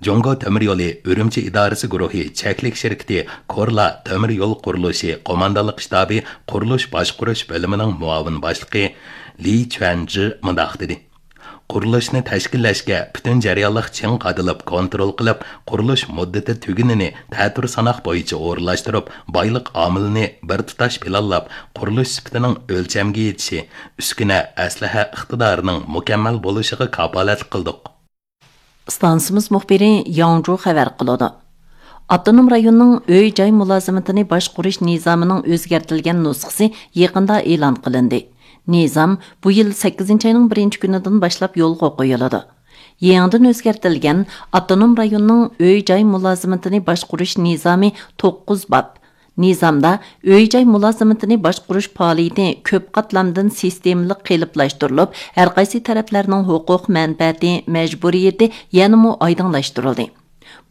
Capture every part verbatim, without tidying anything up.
جۇڭگو تۆمۈر يولى ئۈرۈمچى ئىدارىسى گۇرۇھى چەكلىك شىركىتى كورلا تۆمۈر يول قۇرۇلۇشى قوماندانلىق شتابى قۇرۇلۇش باشقۇرۇش بۆلۈمىنىڭ مۇئاۋىن باشلىقى لى چۈەنجى مۇنداق دېدى: قۇرۇلۇشنى تەشكىللەشكە پۈتۈن جەريانلىق چىڭ قادىلىپ كونترول قىلىپ، قۇرۇلۇش مۇددىتى تۈگۈنىنى تەتۈر ساناق بويىچە ئورۇنلاشتۇرۇپ، بايلىق ئامىلىنى بىر تۇتاش پىلانلاپ، قۇرۇلۇش سۈپىتىنىڭ ئۆلچەمگە يېتىشى، ئۈسكۈنە، ئەسلىھە ئىقتىدارىنىڭ مۇكەممەل بولۇشىغا كاپالەتلىك قىلدۇق. ئىستانسىمىز مۇخبىرى ياڭجۇ خەۋەر قىلىدۇ. ئاپتونوم رايوننىڭ ئۆي-جاي مۇلازىمىتىنى باشقۇرۇش نىزامىنىڭ ئۆزگەرتىلگەن نۇسخىسى يېقىندا ئېلان قىلىندى. نىزام بۇ يىل سەككىزىنچى ئاينىڭ بىرىنچى كۈنىدىن باشلاپ يولغا قويۇلىدۇ. يېڭىدىن ئۆزگەرتىلگەن ئاپتونوم رايوننىڭ ئۆي-جاي مۇلازىمىتىنى باشقۇرۇش نىزامى توققۇز باب. نىزامدا ئۆي-جاي مۇلازىمىتىنى باشقۇرۇش پائالىيىتى كۆپ قاتلامدىن سىستېمىلىق قېلىپلاشتۇرۇلۇپ، ھەرقايسى تەرەپلەرنىڭ ھوقۇق مەنپەئەتى، مەجبۇرىيىتى يەنىمۇ ئايدىڭلاشتۇرۇلدى.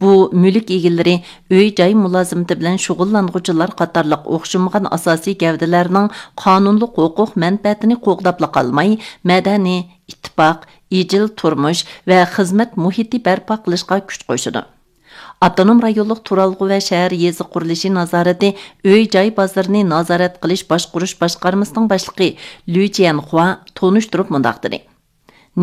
بۇ مۈلۈك ئىگىلىرى، ئۆي-جاي مۇلازىمىتى بىلەن شۇغۇللانغۇچىلار قاتارلىق ئوخشىمىغان ئاساسىي گەۋدىلەرنىڭ قانۇنلۇق ھوقۇق مەنپەئەتىنى قوغداپلا قالماي، مەدەنىي، ئىتتىپاق، ئىجىل تۇرمۇش ۋە خىزمەت مۇھىتى بەرپا قىلىشقا كۈچ قوشىدۇ. ئاپتونوم رايونلۇق تۇرالغۇ ۋە شەھەر يېزا قۇرۇلۇشى نازارىتى ئۆي-جاي بازىرىنى نازارەت قىلىش باشقۇرۇش باشقارمىسىنىڭ باشلىقى لۈ جيەنخۇا تونۇشتۇرۇپ مۇنداق دېدى: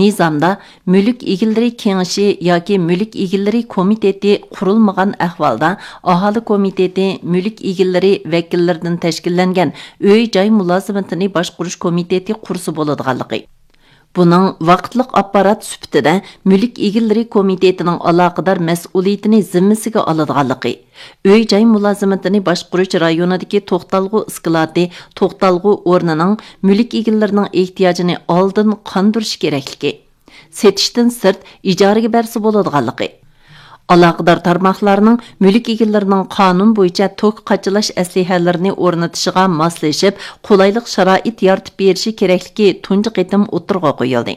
نىزامدا مۈلۈك ئىگىلىرى كېڭىشى ياكى مۈلۈك ئىگىلىرى كومىتېتى قۇرۇلمىغان ئەھۋالدا، ئاھالە كومىتېتى مۈلۈك ئىگىلىرى ۋەكىللىرىدىن تەشكىللەنگەن ئۆي-جاي مۇلازىمىتىنى باشقۇرۇش كومىتېتى قۇرسا بولىدىغانلىقى، بۇنىڭ ۋاقىتلىق ئاپپارات سۈپىتىدە مۈلۈك ئىگىلىرى كومىتېتىنىڭ ئالاقىدار مەسئۇلىيىتىنى زىممىسىگە ئالىدىغانلىقى، ئۆي-جاي مۇلازىمىتىنى باشقۇرۇش رايونىدىكى توختالغۇ ئىسكىلاتى، توختالغۇ ئورنىنىڭ مۈلۈك ئىگىلىرىنىڭ ئېھتىياجىنى ئالدىن قاندۇرۇش كېرەكلىكى، سېتىشتىن سىرت ئىجارىگە بەرسە بولىدىغانلىقى، ئالاقىدار تارماقلارنىڭ مۈلۈك ئىگىلىرىنىڭ قانۇن بويىچە توك قاچىلاش ئەسلىھەلىرىنى ئورنىتىشىغا ماسلىشىپ، قولايلىق شارائىت يارىتىپ بېرىشى كېرەكلىكى تۇنجى قېتىم ئوتتۇرىغا قويۇلدى.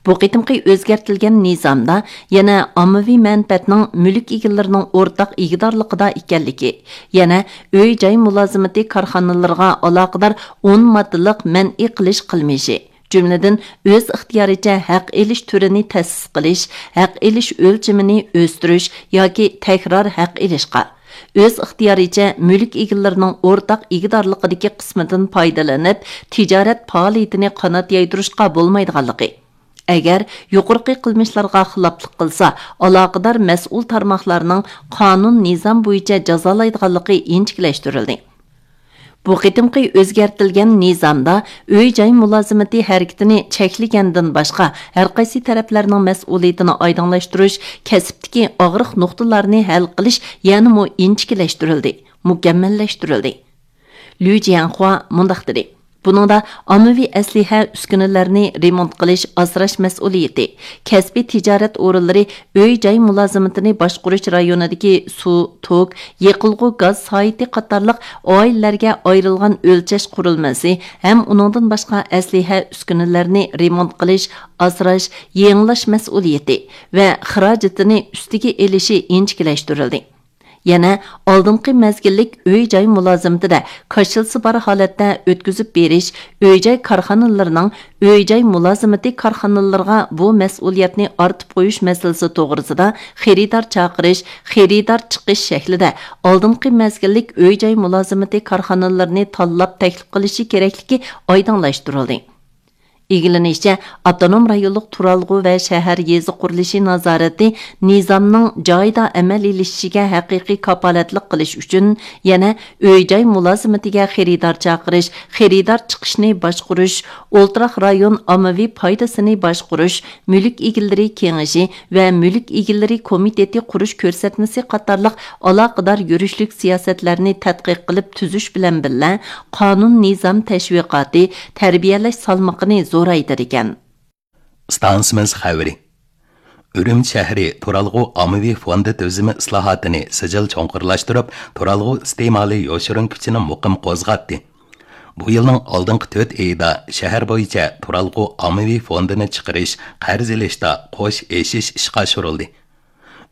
بۇ قېتىمقى ئۆزگەرتىلگەن نىزامدا يەنە ئاممىۋى مەنپەئەتنىڭ مۈلۈك ئىگىلىرىنىڭ ئورتاق ئىگىدارلىقىدا ئىكەنلىكى، يەنە ئۆي-جاي مۇلازىمىتى كارخانىلىرىغا ئالاقىدار ئون ماددىلىق مەنئى قىلىش قىلمىشى، جۈملىدىن ئۆز ئىختىيارىچە ھەق ئېلىش تۈرىنى تەسىس قىلىش، ھەق ئېلىش ئۆلچىمىنى ئۆستۈرۈش ياكى تەكرار ھەق ئېلىشقا، ئۆز ئىختىيارىچە مۈلۈك ئىگىلىرىنىڭ ئورتاق ئىگىدارلىقىدىكى قىسمىدىن پايدىلىنىپ، تىجارەت پائالىيىتىنى قانات يايدۇرۇشقا بولمايدىغانلىقى، ئەگەر يۇقىرىقى قىلمىشلارغا خىلاپلىق قىلسا، ئالاقىدار مەسئۇل تارماقلارنىڭ قانۇن، نىزام بويىچە جازالايدىغانلىقى ئىنچىكىلەشتۈرۈلدى. بۇ قېتىمقى ئۆزگەرتىلگەن نىزامدا ئۆي-جاي مۇلازىمىتى ھەرىكىتىنى چەكلىگەندىن باشقا، ھەرقايسى تەرەپلەرنىڭ مەسئۇلىيىتىنى ئايدىڭلاشتۇرۇش، كەسىپتىكى ئاغرىق نۇقتىلارنى ھەل قىلىش يەنىمۇ ئىنچىكىلەشتۈرۈلدى، مۇكەممەللەشتۈرۈلدى. لۈ جيەنخۇا مۇنداق دېدى: بۇنىڭدا ئاممىۋى ئەسلىھە ئۈسكۈنىلەرنى رېمونت قىلىش، ئاسراش مەسئۇلىيىتى، كەسپىي تىجارەت ئورۇنلىرى ئۆي-جاي مۇلازىمىتىنى باشقۇرۇش رايونىدىكى سۇ، توك، يېقىلغۇ گاز سايىتى قاتارلىق ئائىلىلەرگە ئايرىلغان ئۆلچەش قۇرۇلمىسى ھەم ئۇنىڭدىن باشقا ئەسلىھە ئۈسكۈنىلەرنى رېمونت قىلىش، ئاسراش، يېڭىلاش مەسئۇلىيىتى ۋە خىراجىتىنى ئۈستىگە ئېلىشى ئىنچىكىلەشتۈرۈلدى. يەنە ئالدىنقى مەزگىللىك ئۆي-جاي مۇلازىمىتىدە كاشىلىسى بار ھالەتتە ئۆتكۈزۈپ بېرىش، ئۆي-جاي كارخانىلىرىنىڭ ئۆي-جاي مۇلازىمىتى كارخانىلىرىغا بۇ مەسئۇلىيەتنى ئارتىپ قويۇش مەسىلىسى توغرىسىدا خېرىدار چاقىرىش، خېرىدار چىقىش شەكلىدە ئالدىنقى مەزگىللىك ئۆي-جاي مۇلازىمىتى كارخانىلىرىنى تاللاپ تەكلىپ قىلىشى كېرەكلىكى ئايدىڭلاشتۇرۇلدى. ئىگىلىنىشىچە، ئاپتونوم رايونلۇق تۇرالغۇ ۋە شەھەر يېزا قۇرۇلۇشى نازارىتى نىزامنىڭ جايىدا ئەمەلىيلىشىشىگە ھەقىقىي كاپالەتلىك قىلىش ئۈچۈن يەنە ئۆي-جاي مۇلازىمىتىگە خېرىدار چاقىرىش، خېرىدار چىقىشنى باشقۇرۇش، ئولتۇراق رايون ئاممىۋى پايدىسىنى باشقۇرۇش، مۈلۈك ئىگىلىرى كېڭىشى ۋە مۈلۈك ئىگىلىرى كومىتېتى قۇرۇش كۆرسەتمىسى قاتارلىق ئالاقىدار يۈرۈشلۈك سىياسەتلەرنى تەتقىق قىلىپ تۈزۈش بىلەن بىللە، قانۇن نىزام تەشۋىقاتى، تەربىيەلەش سالمىقىنى زورايتىدىكەن. ئىستانسىمىز خەۋىرى. ئۈرۈمچى شەھىرى تۇرالغۇ ئاممىۋى فوندى تۈزۈمى ئىسلاھاتىنى سىجىل چوڭقۇرلاشتۇرۇپ، تۇرالغۇ ئىستېمالى يوشۇرۇن كۈچىنى مۇقىم قوزغاتتى. بۇ يىلنىڭ ئالدىنقى تۆت ئېيىدا شەھەر بويىچە تۇرالغۇ ئاممىۋى فوندىنى چىقىرىش، قەرز ئېلىشتا قوش ئېشىش ئىشقا ئاشۇرۇلدى.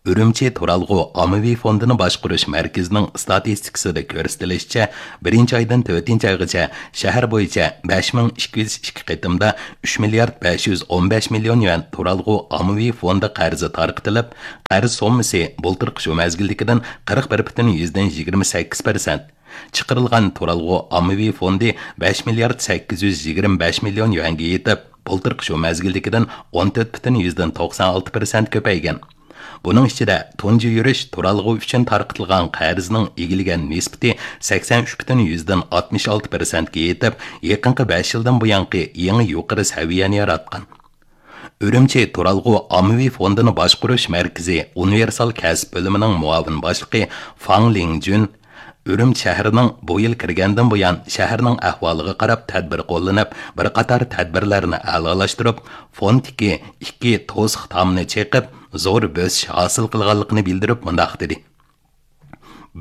ئۈرۈمچى تۇرالغۇ ئاممىۋى فوندىنى باشقۇرۇش مەركىزىنىڭ ئىستاتىستىكىسىدا كۆرسىتىلىشىچە، بىرىنچى ئايدىن تۆتىنچى ئايغىچە شەھەر بويىچە بەش مىڭ ئىككى يۈز ئىككى قېتىمدا ئۈچ مىليارد بەش يۈز ئون بەش مىليون يۈەن تۇرالغۇ ئاممىۋى فوندى قەرزى تارقىتىلىپ، قەرز سوممىسى بۇلتۇرقى شۇ مەزگىلدىكىدىن قىرىق بىر پۈتۈن يۈزدىن يىگىرمە سەككىز پىرسەنت، چىقىرىلغان تۇرالغۇ ئاممىۋى فوندى بەش مىليارد سەككىز يۈز يىگىرمە بەش مىليون يۈەنگە يېتىپ، بۇلتۇرقى شۇ مەزگىلدىكىدىن ئون تۆت پۈتۈن يۈزدىن توقسان ئالتە پىرسەنت كۆپەيگەن. بۇنىڭ ئىچىدە تۇنجى يۈرۈش تۇرالغۇ ئۈچۈن تارقىتىلغان قەرزنىڭ ئىگىلىگەن نىسبىتى سەكسەن ئۈچ پۈتۈن يۈزدىن ئاتمىش ئالتە پىرسەنتكە يېتىپ، يېقىنقى بەش يىلدىن بۇيانقى يېڭى يۇقىرى سەۋىيەنى ياراتقان. ئۈرۈمچى تۇرالغۇ ئاممىۋى فوندىنى باشقۇرۇش مەركىزى ئۇنىۋېرسال كەسىپ بۆلۈمىنىڭ مۇئاۋىن باشلىقى فاڭ لىڭجۈن ئۈرۈمچى شەھىرىنىڭ بۇ يىل كىرگەندىن بۇيان شەھەرنىڭ ئەھۋالىغا قاراپ تەدبىر قوللىنىپ، بىر قاتار تەدبىرلەرنى ئەلالاشتۇرۇپ، فوندتىكى ئىككى توسۇق تامنى چېقىپ، زور بۆسۈش ھاسىل قىلغانلىقىنى بىلدۈرۈپ مۇنداق دېدى: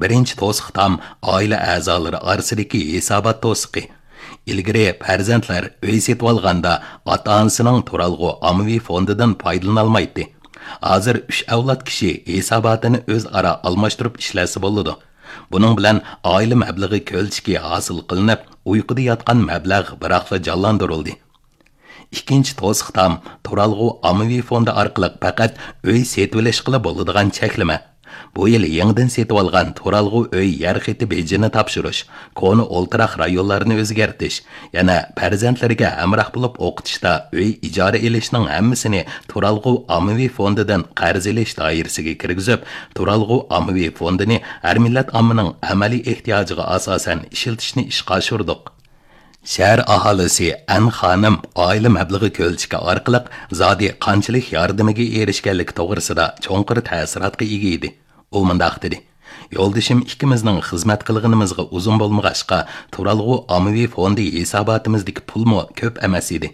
بىرىنچى توسۇق تام ئائىلە ئەزالىرى ئارىسىدىكى ھېسابات توسۇقى. ئىلگىرى پەرزەنتلەر ئۆي سېتىۋالغاندا ئاتا-ئانىسىنىڭ تۇرالغۇ ئاممىۋى فوندىدىن پايدىلىنالمايتتى. ھازىر ئۈچ ئەۋلاد كىشى ھېساباتىنى ئۆزئارا ئالماشتۇرۇپ ئىشلەتسە بولىدۇ. بۇنىڭ بىلەن ئائىلە مەبلىغى كۆلچىكى ھاسىل قىلىنىپ، ئۇيقۇدا ياتقان مەبلەغ بىراقلا جانلاندۇرۇلدى. ئىككىنچى توسۇق تام تۇرالغۇ ئاممىۋى فوندى ئارقىلىق پەقەت ئۆي سېتىۋېلىشقىلا بولىدىغان چەكلىمە. بۇ يىل يېڭىدىن سېتىۋالغان تۇرالغۇ ئۆي يەر خېتى بېجىنى تاپشۇرۇش، كونا ئولتۇراق رايونلارنى ئۆزگەرتىش، يەنە پەرزەنتلىرىگە ھەمراھ بولۇپ ئوقۇتۇشتا ئۆي ئىجارە ئېلىشنىڭ ھەممىسىنى تۇرالغۇ ئاممىۋى فوندىدىن قەرز ئېلىش دائىرىسىگە كىرگۈزۈپ، تۇرالغۇ ئاممىۋى فوندىنى ھەر مىللەت ئاممىنىڭ ئەمەلىي ئېھتىياجىغا ئاساسەن ئىشلىتىشنى ئىشقا ئاشۇردۇق. شەھەر ئاھالىسى ئەن خانىم ئائىلە مەبلىغى كۆلچىكى ئارقىلىق زادى قانچىلىك ياردىمىگە ئېرىشكەنلىكى توغرىسىدا چوڭقۇر تەسىراتقا ئىگە ئىدى. ئۇ مۇنداق دېدى: يولدىشىم ئىككىمىزنىڭ خىزمەت قىلغىنىمىزغا ئۇزۇن بولمىغاچقا، تۇرالغۇ ئاممىۋى فوندى ھېساباتىمىزدىكى پۇلمۇ كۆپ ئەمەس ئىدى.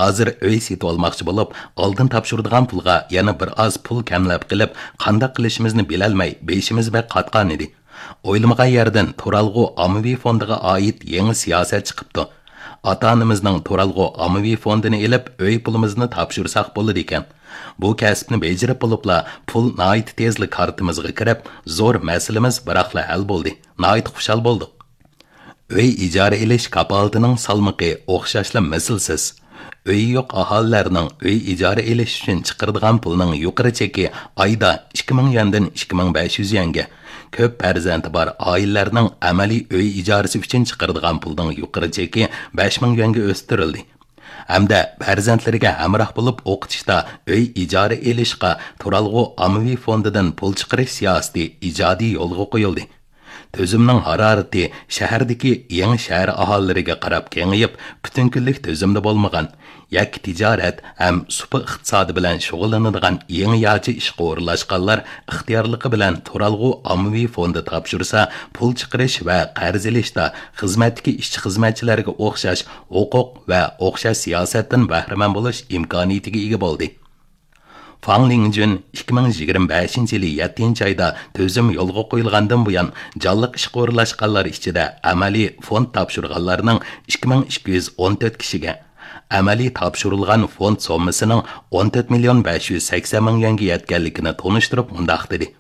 ھازىر ئۆي سېتىۋالماقچى بولۇپ، ئالدىن تاپشۇرىدىغان پۇلغا يەنە بىر ئاز پۇل كەملەپ قېلىپ، قانداق قىلىشىمىزنى بىلەلمەي، بېشىمىز بەك قاتقان ئىدى. ئويلىمىغان يەردىن تۇرالغۇ ئاممىۋى فوندىغا ئائىت يېڭى سىياسەت چىقىپتۇ. ئاتا-ئانىمىزنىڭ تۇرالغۇ ئاممىۋى فوندىنى ئېلىپ، ئۆي پۇلىمىزنى تاپشۇرساق بولىدىكەن. بۇ كەسىپنى بېجىرىپ بولۇپلا، پۇل ناھايىتى تېزلا كارتىمىزغا كىرىپ، زور مەسىلىمىز بىراقلا ھەل بولدى. ناھايىتى خۇشال بولدۇق. ئۆي ئىجارە ئېلىش كاپالىتىنىڭ سالمىقى ئوخشاشلا مىسلىسىز. ئۆيى يوق ئاھالىلەرنىڭ ئۆي ئىجارە ئېلىش ئۈچۈن چىقىرىدىغان پۇلىنىڭ يۇقىرى چېكى ئايدا ئىككى مىڭ يۈەندىن ئىككى مىڭ بەش يۈز يۈەنگە، كۆپ پەرزەنتى بار ئائىلىلەرنىڭ ئەمەلىي ئۆي ئىجارىسى ئۈچۈن چىقىرىدىغان پۇلنىڭ يۇقىرى چېكى بەش مىڭ يۈەنگە ئۆستۈرۈلدى. ھەمدە پەرزەنتلىرىگە ھەمراھ بولۇپ ئوقۇتۇشتا ئۆي ئىجارە ئېلىشقا تۇرالغۇ ئاممىۋى فوندىدىن پۇل چىقىرىش سىياسىتى ئىجادىي يولغا قويۇلدى. تۈزۈمنىڭ ھارارىتى شەھەردىكى يېڭى شەھەر ئاھالىلىرىگە قاراپ كېڭىيىپ، پۈتۈن كۈنلۈك تۈزۈمدە بولمىغان، يەككە تىجارەت ھەم سۇپا ئىقتىسادى بىلەن شۇغۇللىنىدىغان يېڭىچە ئىشقا ئورۇنلاشقانلار ئىختىيارلىقى بىلەن تۇرالغۇ ئاممىۋى فوندى تاپشۇرسا، پۇل چىقىرىش ۋە قەرز ئېلىشتا خىزمەتتىكى ئىشچى-خىزمەتچىلەرگە ئوخشاش ھوقۇق ۋە ئوخشاش سىياسەتتىن بەھرىمەن بولۇش ئىمكانىيىتىگە ئىگە بولدى. فاڭ لىڭجۈن ئىككى مىڭ يىگىرمە بەشىنچى يىلى يەتتىنچى ئايدا تۈزۈم يولغا قويۇلغاندىن بۇيان، جانلىق ئىشقا ئورۇنلاشقانلار ئىچىدە ئەمەلىي فوند تاپشۇرغانلارنىڭ ئىككى مىڭ ئىككى يۈز ئون تۆت كىشىگە، ئەمەلىي تاپشۇرۇلغان فوند سوممىسىنىڭ ئون تۆت مىليون بەش يۈز سەكسەن مىڭ يۈەنگە يەتكەنلىكىنى تونۇشتۇرۇپ مۇنداق دېدى: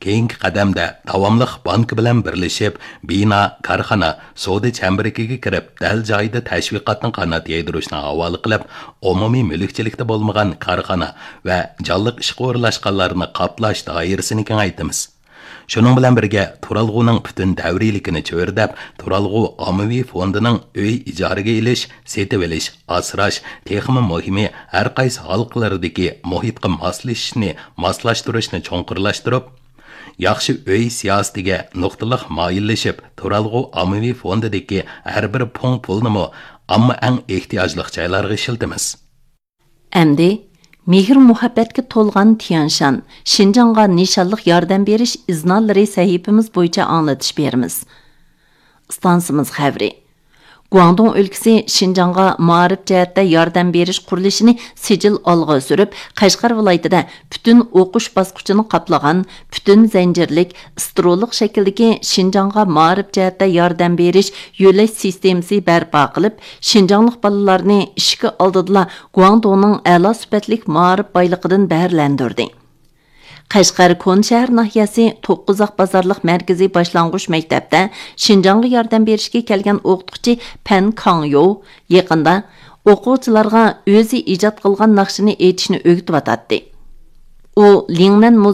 كېيىنكى قەدەمدە داۋاملىق بانكا بىلەن بىرلىشىپ، بىنا، كارخانا، سودا چەمبىرىكىگە كىرىپ، دەل جايىدا تەشۋىقاتنى قانات يايدۇرۇشنى ھاۋالە قىلىپ، ئومۇمىي مۈلۈكچىلىكتە بولمىغان كارخانا ۋە جانلىق ئىشقا ئورۇنلاشقانلارنى قاپلاش دائىرىسىنى كېڭەيتىمىز. شۇنىڭ بىلەن بىرگە، تۇرالغۇنىڭ پۈتۈن دەۋرىيلىكىنى چۆرىدەپ، تۇرالغۇ ئاممىۋى فوندىنىڭ ئۆي ئىجارىگە ئېلىش، سېتىۋېلىش، ئاسراش، تېخىمۇ مۇھىمى، ھەر قايسى ھالقىلىرىدىكى مۇھىتقا ماسلىشىشنى، ماسلاشتۇرۇشنى چوڭقۇرلاشتۇرۇپ، ياخشى ئۆي سىياسىتىگە نۇقتىلىق مايىللىشىپ، تۇرالغۇ ئاممىۋى فوندىدىكى ھەر بىر پۇڭ پۇلنىمۇ ئامما ئەڭ ئېھتىياجلىق جايلارغا ئىشلىتىمىز. ئەمدى مېھىر-مۇھەببەتكە تولغان تيەنشان، شىنجاڭغا نىشانلىق ياردەم بېرىش ئىزنالىرى سەھىپىمىز بويىچە ئاڭلىتىش بېرىمىز. ئىستانسىمىز خەۋىرى. گۇاڭدۇڭ ئۆلكىسى شىنجاڭغا مائارىپ جەھەتتە ياردەم بېرىش قۇرۇلۇشىنى سىجىل ئالغا سۈرۈپ، قەشقەر ۋىلايىتىدە پۈتۈن ئوقۇش باسقۇچىنى قاپلىغان پۈتۈن زەنجىرلىك ئىسترولۇق شەكىلدىكى شىنجاڭغا مائارىپ جەھەتتە ياردەم بېرىش يۆلەش سىستېمىسى بەرپا قىلىپ، شىنجاڭلىق بالىلارنى ئىشىكى ئالدىدىلا گۇاڭدۇڭنىڭ ئەلا سۈپەتلىك مائارىپ بايلىقىدىن بەھرىلەندۈردى. قەشقەر كونا شەھەر ناھىيەسى توققۇزاق بازارلىق مەركىزىي باشلانغۇچ مەكتەپتە شىنجاڭغا ياردەم بېرىشكە كەلگەن ئوقۇتقۇچى پەن كاڭيو يېقىندا ئوقۇغۇچىلارغا ئۆزى ئىجاد قىلغان ناخشىنى ئېيتىشنى ئۆگىتىۋاتاتتى. ئۇ لىڭنەن مۇزېي